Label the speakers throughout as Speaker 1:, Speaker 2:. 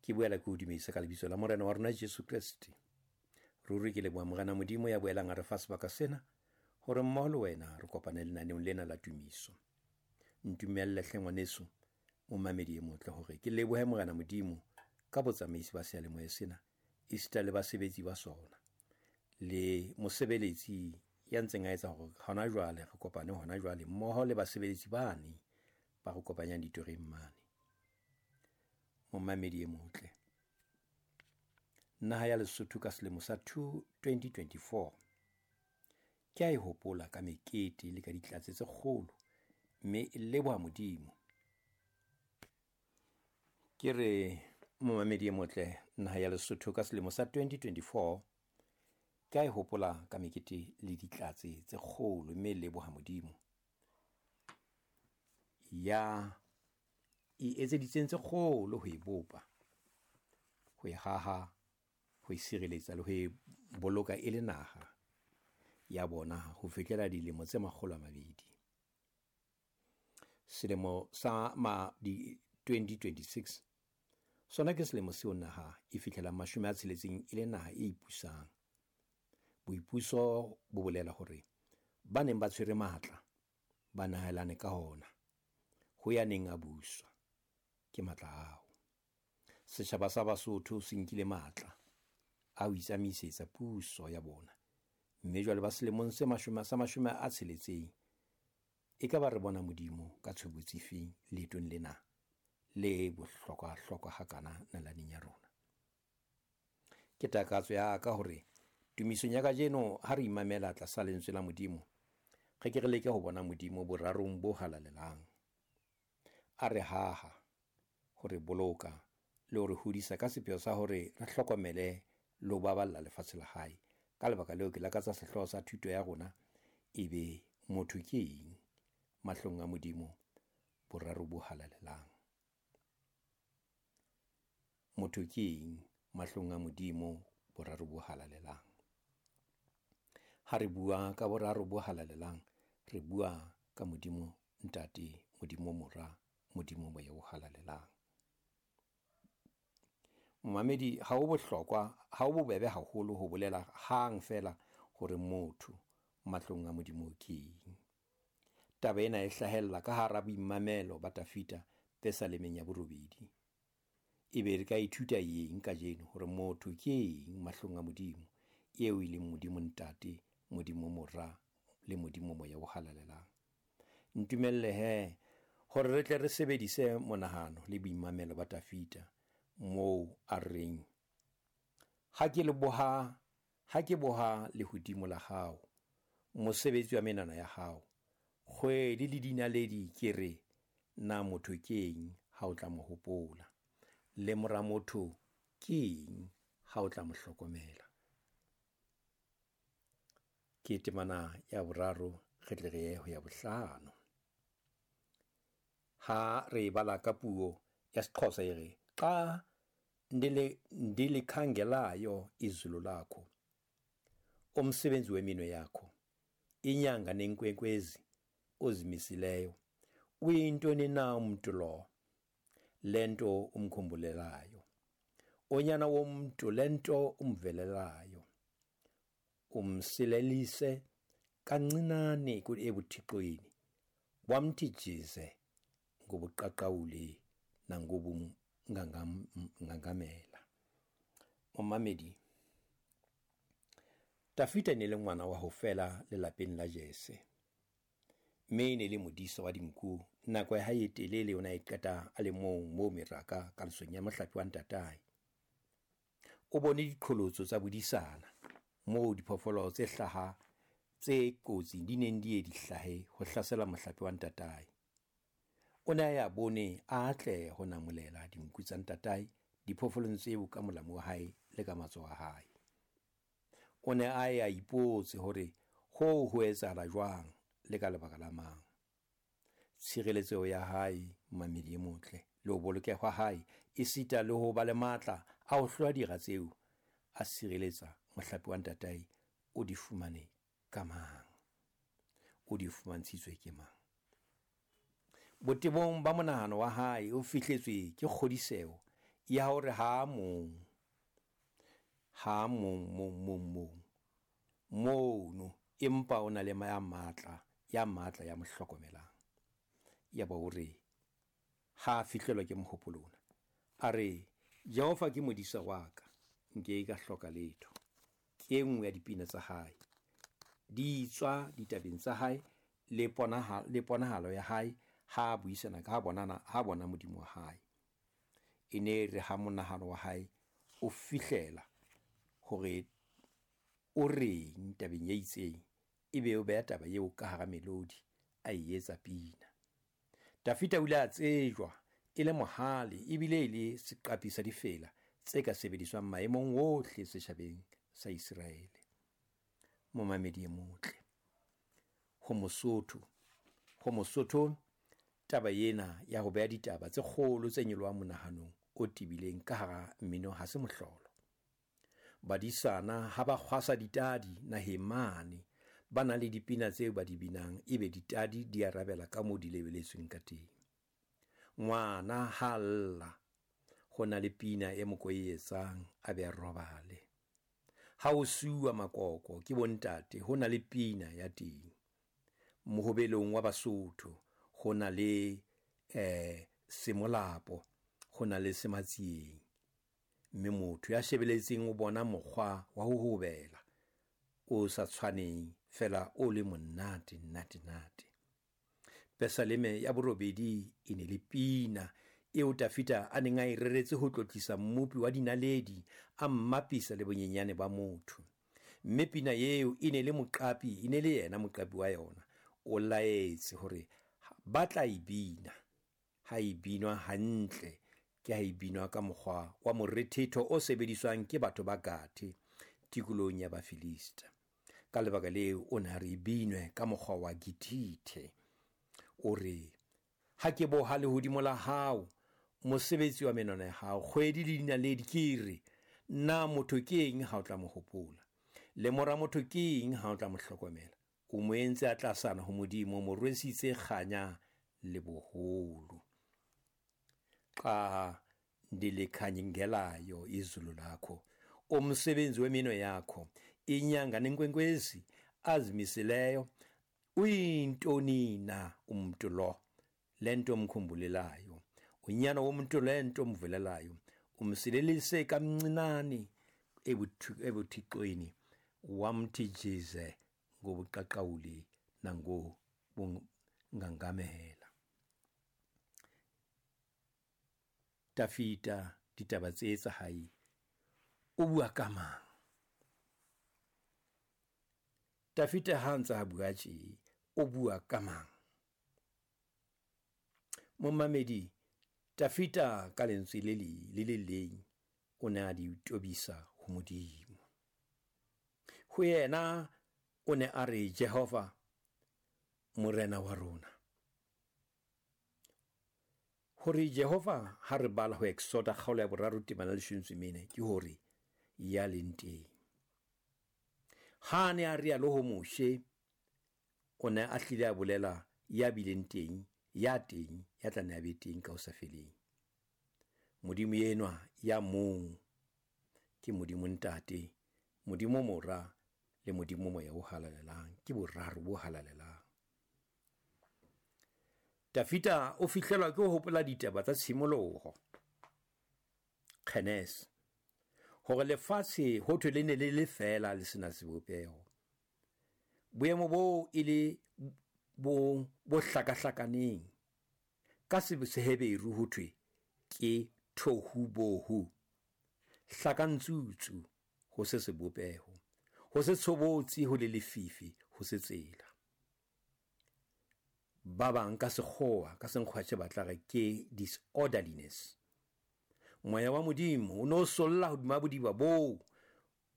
Speaker 1: Ke boela ke o dumedisa ka lebitso la Morena wa rona Jesu Kreste. Ruri ke leboha Morena Modimo ya boelang a re fa sebaka sena hore mmoho le wena re kopane lenaneong lena la tumiso. Ntumelle hle ngwaneso, momamedi e motle, hore ke lebohe Morena Modimo ka botsamaisi ba seyalemoya sena, esita le basebetsi ba sona, le mosebeletsi ya ntseng a etsa hore hona jwale re kopane hona jwale mmoho le basebeletsi bane ba re kopanyang ditoreng mane. Momamedi e motle, naha ya Lesotho ka selemo sa 2024 ke a e hopola ka mekete le ka ditlatse tse kgolo, mme e leboha Modimo. Ke re momamedi e motle, naha ya Lesotho ka selemo sa 2024 ke a e hopola ka mekete le ditlatse tse kgolo, mme e leboha Modimo ya e etseditseng tse kgolo ho e bopa, ho e haha, ho e sireletsa le ho e boloka e le naha ya bona ho fihlela dilemo tse 200. Selemo sa ma di 2026 sona ke selemo seo naha e fihlelang 60 e le naha e ipusang. Boipuso bo bolela hore ba neng ba tshwere matla ba nahelane ka hona ho ya neng a buswa ke matla ao. Setjhaba sa Basotho se nkile matla a ho itsamaisetsa puso ya bona, mme jwale ba selemong se 60 e ka ba re bona Modimo ka tshobotsi feng leetong lena le bohlokwa-hlokwa hakana nalaneng ya rona. Ke takatso ya ka hore tumisong ya kajeno ha re imamela tlasa lentswe la Modimo, re ke re leke ho bona Modimo borarong bo halalelang. A re haha, ho re boloka le ho re hodisa ka sepheo sa hore re hlokomele le ho baballa lefatshe la hae. Ka lebaka leo ke lakatsa sehlooho sa thuto ya rona ebe motho ke eng mahlong a Modimo boraro bo halalelang. Motho ke eng mahlong a Modimo boraro bo halalelang. Ha re bua ka boraro bo halalelang, re bua ka Modimo Ntate, Modimo Mora, Modimo Moya o halalelang. Momamedi, ha ho bohlokwa, ha ho bobebe haholo ho bolela hang feela hore motho mahlong a Modimo ke eng. Taba ena e hlahella ka hara boimamelo ba Tafita Pesalemeng ya 8. Ebe re ka ithuta eng kajeno hore motho ke eng mahlong a Modimo, eo e leng Modimo Ntate, Modimo Mora le Modimo Moya o halalelang. Ntumelle he hore re tle re sebedise monahano le boimamelo ba Tafita moo a reng, ha ke boha lehodimo la hao, mosebetsi wa menwana ya hao, kgwedi le dinaledi, ke re, na motho ke eng ha o tla mo hopola, le mora motho ke eng ha o tla mo hlokomela. Ke temana ya 3, re tle re ye ho ya 5. Ha re bala ka puo ya Sexhosa e re, xa ndilikhangelayo izulu lakho, umsebenzi weminwe yakho, inyanga nenkwenkwezi ozimisileyo, uyintoni na umntu lo lento umkhumbulelayo, unyana womntu lento umvelelayo, umsilelise kancinane ebuthixweni, wamthi jize ngobuqaqawuli nangobungangamela. Momamedi, Tafita ne le ngwana wa ho fela lelapeng la Jese, mme ne le modisa wa dinku. Nako ya hae e telele o ne a e qeta a le mong moo meraka kalosong ya mohlape wa ntatae. O bone diqholotso tsa bodisana moo diphoofolo tse hlaha tse kotsi di neng di ye di hlahe ho hlasela mohlape wa ntatae. O ne a ya bone a atle ho namolela dinku tsa ntatae diphoofolong tseo ka molamu wa hae le ka matsoho a hae. O ne a ya ipotse hore hoo ho etsahala jwang le ka lebaka la mang. Tshireletseho ya hae, mamedi e motle, le ho bolokeha hae, esita le ho ba le matla a ho hlola dira tseo, a sireletsa mohlape wa ntatae, o di fumane ka mang? O di fumantshitswe ke mang? Botebong ba monahano wa hae o fihletswe ke kgodiseho ya hore ha mong, ha mong, mong, mong, mong, mono, empa o na le ya matla, ya matla ya mo hlokomelang. Ya ba hore ha a fihlelwa ke mohopolo ona, a re Jehova ke modisa wa ka, nke ka hloka letho. Ke e nngwe ya dipina tsa hae, di tswa ditabeng tsa hae le le ponahalo ya hae ha a buisana ka bonana, ha bona Modimo wa hae. E ne re ha monahano wa hae o fihlela hore o reng tabeng e itseng, ebe o beha taba eo ka hara melodi, a e etsa pina. Dafida o ile a tsejwa e le mohale ebile e le seqapi sa difela tse ka sebediswang maemong ohle setjhabeng sa Iseraele. Momamedi e motle, ho Mosotho, ho Mosotho taba ena ya ho beha ditaba tse kgolo tse nyolohang monahanong o tebileng ka hara mmino ha se mohlolo. Badisana ha ba kgwasa ditadi naheng mane, ba na le dipina tseo ba di binang, ebe ditadi di arabela ka moo di lebeletsweng ka teng. Ngwana ha lla, ho na le pina e moko e etsang a be a robale. Ha ho suwa makoko ke bontate, ho na le pina ya teng. Mohobelong wa Basotho ho na le semolapo, ho na le sematsieng. Mme motho ya shebeletseng o bona mokgwa wa ho hobela o sa tshwaneng, fela o le monate nate nate. Pesaleme ya borobedi e ne le pina eo Dafida a neng a e reretse ho tlotlisa mmopi wa dinaledi, a mmapisa le bonyenyane ba motho. Mme pina eo e ne le moqapi, e ne le yena moqapi wa yona. O laetse hore ba tla e bina, ha e binwa hantle, ke ha e binwa ka mokgwa wa morethetho o sebediswang ke batho ba Gathe tikolohong ya Bafilista. Ka lebaka leo o ne a re e binwe ka mokgwa wa Gitithe. O re, ha ke boha lehodimo la hao, mosebetsi wa menwana ya hao, kgwedi le dinaledi, ke re, na motho ke eng ha o tla mo hopola? Le mora motho ke eng ha o tla mo hlokomela? O mo entse a tlasana ho Modimo, o mo rwesitse kganya le boholo. Xa ndilikhangelayo izulu lakho, umsebenzi weminwe yakho, inyanga nenkwenkwezi azimisileyo, uyintoni na umuntu lo lento omkhumbulelayo, unyana womuntu lento omvulelayo, umsilelise kamncinane ebuthixweni, wamthi jize ngobuqaqawuli nangobungangamela. Dafida ditaba tse tsa hae o bua ka mang? Dafida ha ntse a bua tje, o bua ka mang? Momamedi, Dafida ka lentswe le le le leng o ne a di tobisa ho Modimo. Ho yena o ne a re Jehova Morena wa rona. Hore Jehova ha re bala ho Exoda kgaolo ya 3 temana 14, ke hore ya leng teng. Ha ne a rialo ho Moshe, o ne a hlile a bolela ya bileng teng, ya teng, ya tla ne a be teng ka ho sa feleng. Modimo enwa ya mong ke Modimo Ntate, Modimo Mora le Modimo Moya o Halalelang, ke boraro bo halalelang. Dafida o fihlelwa ke ho hopola ditaba tsa tshimoloho, Genese, hore lefatshe ho thwe le ne le le feela le sena sebopeho. Boemo boo e le bo hlakahlakaneng. Ka Seheberu ho thwe ke thohubohu, hlakantsutsu, ho se sebopeho, ho se tshobotsi, ho le lefifi, ho se tsela. Ba bang ka sekgowa, ka senkgwatjhe ba tla re ke disorderliness. Moya wa Modimo o no solla hodima bodiba boo.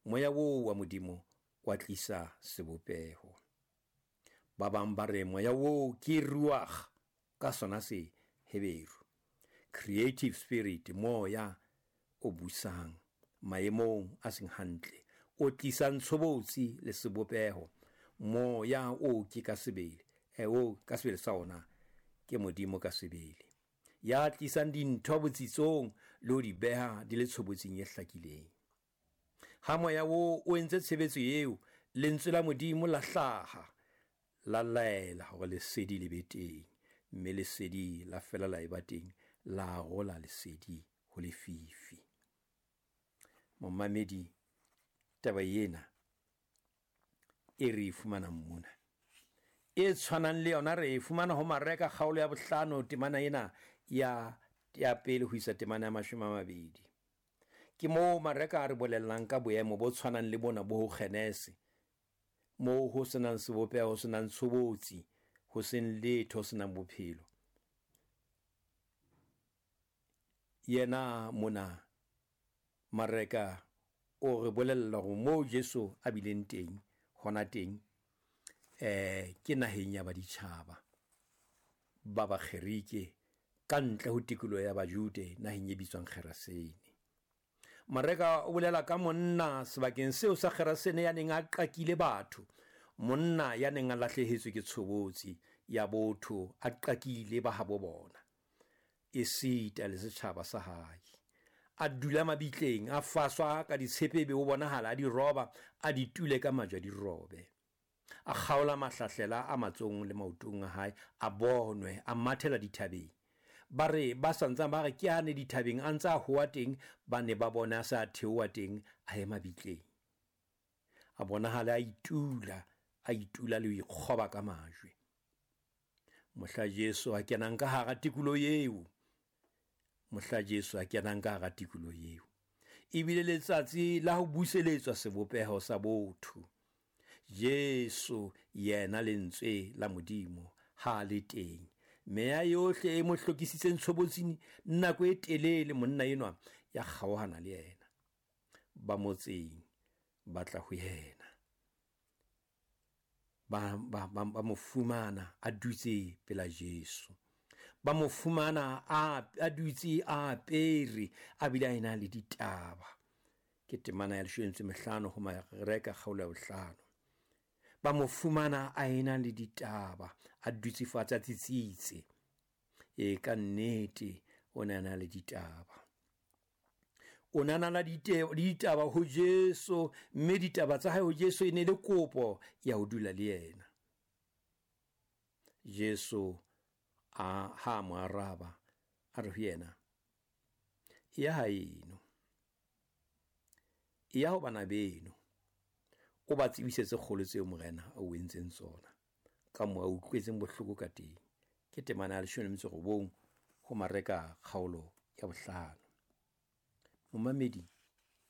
Speaker 1: Moya oo wa Modimo wa tlisa sebopeho. Ba bang ba re moya oo ke ruach ka sona se Heberu, creative spirit, moya o busang maemong a seng hantle, o tlisang tshobotsi le sebopeho. Moya o ke ka sebele, o ka sebele sa ona ke Modimo ka sebele, ya tlisang dintho botsitsong le ho di beha di le tshobotsing e hlakileng. Ha moya wo o entse tshebetso eo, lentswe la Modimo la hlaha, la laela hore lesedi le be teng, mme lesedi la fela la eba teng, la arola lesedi ho lefifi. Momamedi, taba ena e re e fumanang mona e tshwanang le yona re e fumana ho Mareka kgaolo ya 5, temana ena ya pele ho isa temana ya 20. Ke moo Mareka a re bolellang ka boemo bo tshwanang le bona bo ho Genese, moo ho senang sebopeho, ho senang tshobotsi, ho seng letho, ho senang bophelo. Yena mona Mareka o re bolella hore moo Jesu a bileng teng, hona teng, ke naheng ya baditjhaba ba Bakgerike, ka ntle ho tikoloho ya Bajude, naheng e bitswang Gerasene. Mareka o bolela ka monna sebakeng seo sa Gerasene ya neng a qakile batho, monna ya neng a lahlehetswe ke tshobotsi ya botho, a qakile ba habo bona, esita le setjhaba sa hae. A dula mabitleng, a faswa ka ditshepe, ebe o bonahala a di roba, a di tule ka majwe a di robe. A kgaola mahlahlela a matsohong le maotong a hae, a bonwe, a mathela dithabeng. Ba re ba santsang ba re ke ane dithabeng, a ntse a hoa teng, ba ne ba bona a se a theoha teng, a ye mabitleng. A bonahala a itula, a itula le ho ikgoba ka majwe. Mohla Jesu a kenang ka hara tikoloho eo, mohla Jesu a kenang ka hara tikoloho eo, ebile letsatsi la ho buseletswa sebopeho sa botho. Jesu yena lentswe la Modimo ha le teng, meya yohle e mo hlokisitseng tshobotsing nako e telele, monna enwa ya kgaohana le yena. Ba motseng ba tla ho yena, ba mo fumana a dutse pela Jesu, ba mo fumana a dutse a apere, a bile a ena le ditaba. Ke temana ya 15 ho Mareka kgaolo ya 5. Ba mo fumana a ena le ditaba, a dutse fatshe a tsitsitse. E ka nnete o ne a na le ditaba. O ne a na le ditaba ho Jesu, mme ditaba tsa hae ho Jesu e ne le kopo ya ho dula le yena. Jesu a ha mo araba, a re ho yena, ya haeno, ya ho bana beno, o ba tsebisetse kgolo tseo Morena a o entseng tsona, ka moo a utlwetseng bohloko ka teng. Ke temana ya 19 ho Mareka kgaolo ya 5. Momamedi,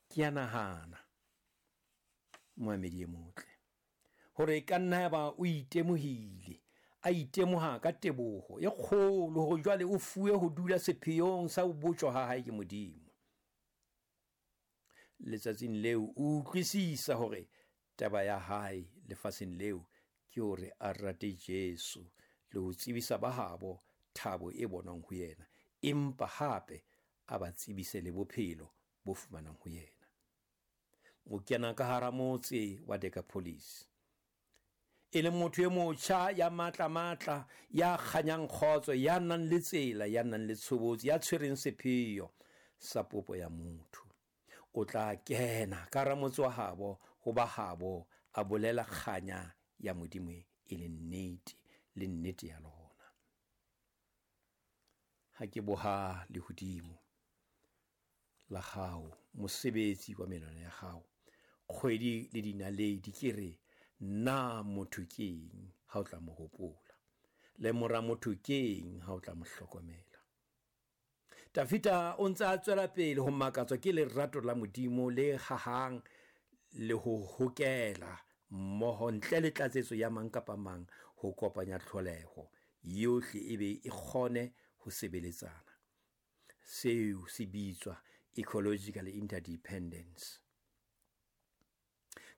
Speaker 1: ke a nahana, momamedi e motle, hore e ka nna ya ba o itemohile, a itemoha ka teboho e kgolo hore jwale o fuwe ho dula sepheong sa ho botjwa ha hae ke Modimo. Letsatsing leo o utlwisisa hore taba ya hae lefatsheng leo ke hore a rate Jesu le ho tsebisa ba habo thabo e bonwang ho yena, empa hape a ba tsebise le bophelo bo fumanang ho yena. O kena ka hara motse wa Decapolis, e le motho e motjha ya matla-matla, ya kganyang kgotso, ya nang le tsela, ya nang le tshobotsi, ya tshwereng sepheo sa popo ya motho. O tla kena ka hara motse wa habo, ho ba habo, a bolela kganya ya Modimo e le nnete, le nnete ya lona. Ha ke boha lehodimo la hao, mosebetsi wa menwana ya hao, kgwedi le dinaledi, ke re, na motho ke eng ha o tla mo hopola? Le mora motho ke eng ha o tla mo hlokomela? Tafita o ntse a tswela pele ho makatswa ke lerato la Modimo le hahang le ho hokela mmoho ntle le tlatsetso ya mang kapa mang ho kopanya tlholeho yohle e be e kgone ho sebeletsana. Seo se bitswa ecological interdependence.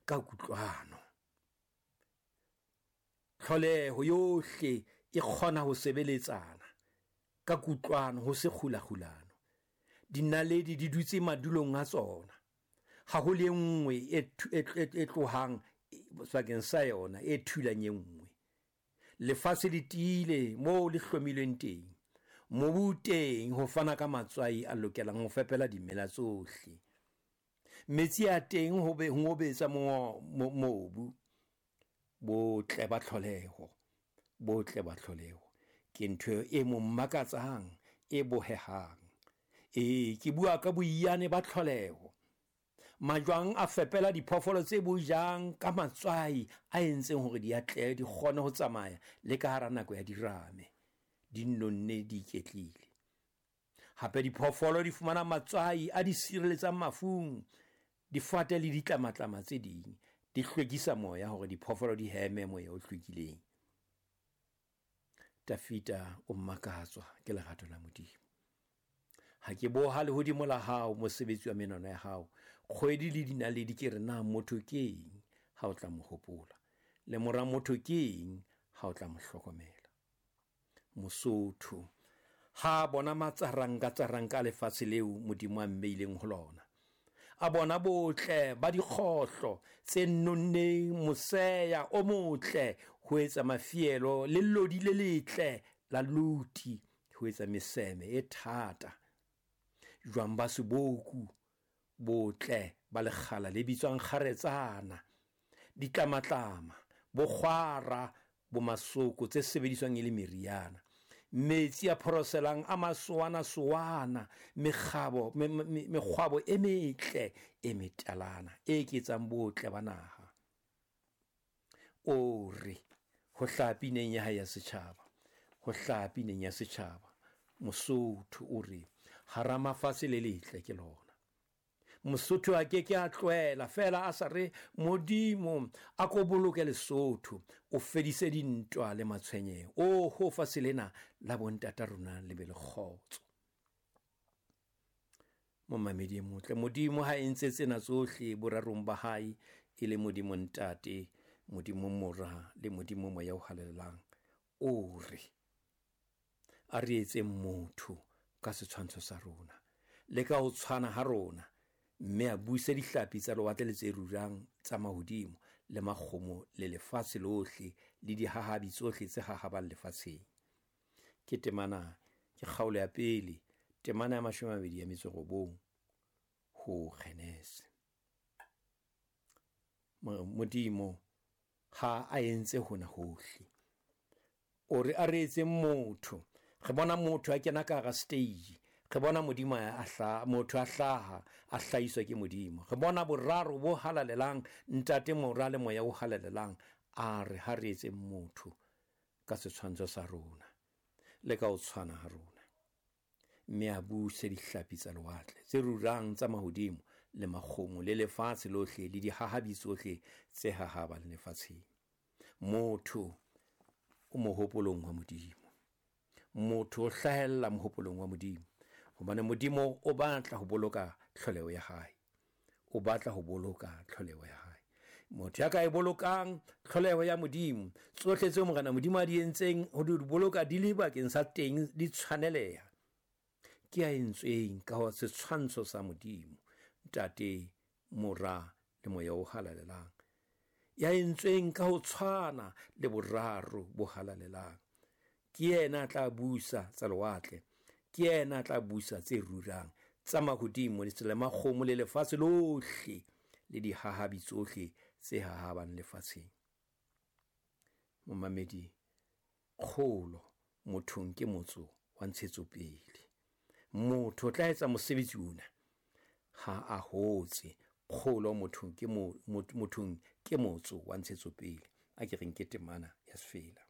Speaker 1: Ka kutlwano, tlholeho yohle e kgona ho sebeletsana ka kutlwano, ho se kgulakgulano. Dinaledi di dutse madulong a tsona, ha ho le nngwe e tlohang sebakeng sa yona e thulang e nngwe. Lefatshe le tiile moo le hlomilweng teng. Mobu o teng ho fana ka matswai a lokelang ho fepela dimela tsohle. Metsi a teng ho be ngobetsa mobu. Botle ba tlholeho, botle ba tlholeho ke ntho e mo makatsang, e bohehang. Ee, ke bua ka boiyane ba tlholeho. Majwang a fepela diphoofolo tse bo jang ka matswai a entseng hore di atlehe, di kgone ho tsamaya le ka hara nako ya dirame, di nonne, di iketlile. Hape diphoofolo di fumana matswai a di sireletsang mafung. Difate le ditlamatlama tse ding di hlwekisa moya hore diphoofolo di heme moya o hlwekileng. Tafita o makatswa ke lerato la Modimo. Ha ke boha lehodimo la hao, mosebetsi wa menwana ya hao, kgwedi le dinaledi, ke re na motho ke eng ha o tla mo hopola, le mora motho ke eng ha o tla mo hlokomela? Mosotho ha bona matsaranka-tsaranka a lefatshe leo Modimo a mmeileng ho lona, a bona botle ba dikgohlo tse nonneng, moseya o motle ho etsa mafielo, le lodi le letle la luti ho etsa meseme e thata, jwang ba seboku, botle ba lekgala le bitswang kgaretsana, ditlamatlama, bokgwara, bo masoko tse sebediswang e le meriana, metsi a phoroselang a masowana-sowana, mekgwabo e metle e metalana e eketsang botle ba naha. O re ho hlaha pineng ya hae ya setjhaba, ho hlaha pineng ya setjhaba, Mosotho o re hara mafatshe le letle ke lona. Mosotho a ke ke a tlohela feela a sa re Modimo a ko boloke Lesotho, o fedise dintwa le matshwenyeho. Oho, fatshe lena la bontata rona le be le kgotso. Momamedi e motle, Modimo ha entse tsena tsohle borarong ba hae, e le Modimo Ntate, Modimo Mora le Modimo Moya o Halalelang, o re a re etseng motho ka setshwantsho sa rona le ka ho tshwana ha rona, mme a buse dihlapi tsa lewatle le tse rurang tsa mahodimo le makgomo le lefatshe lohle le dihahabi tsohle tse hahabang lefatsheng. Ke temana, ke kgaolo ya pele, temana ya 29 ho Genese. Modimo ha a entse hona hohle, o re a re etseng motho. Re bona motho a kena ka hara stage, re bona Modimo a hlaha, motho a hlaha, a hlahiswa ke Modimo. Re bona boraro bo halalelang, Ntate, Mora le Moya o halalelang. A re ha re etseng motho ka setshwantsho sa rona le ka ho tshwana ha rona, mme a buse dihlapi tsa lewatle tse rurang tsa mahodimo le makgomo le lefatshe lohle le dihahabi tsohle tse hahabang lefatsheng. Motho o mohopolong wa Modimo. Motho o hlahella mohopolong wa Modimo, hobane Modimo o batla ho boloka tlholeho ya hae. O batla ho boloka tlholeho ya hae. Motho ya ka e bolokang tlholeho ya Modimo, tsohle tseo Morena Modimo a di entseng ho di boloka di le bakeng sa teng, di tshwaneleha, ke a entsweng ka ho setshwantsho sa Modimo, Ntate, Mora le Moya o Halalelang, ya entsweng ka ho tshwana le boraro bo halalelang. Ke yena a tla busa tsa lewatle, ke yena a tla busa tse rurang tsa mahodimo le tsela makgomo le lefatshe lohle le dihahabi tsohle tse hahabang lefatsheng. Momamedi, kgolo mothong ke motso wa ntshetsopele. Motho o tla etsa mosebetsi ona ha a hotse. Kgolo mothong ke mothong ke motso wa ntshetsopele. A ke reng ke temana ya sefela.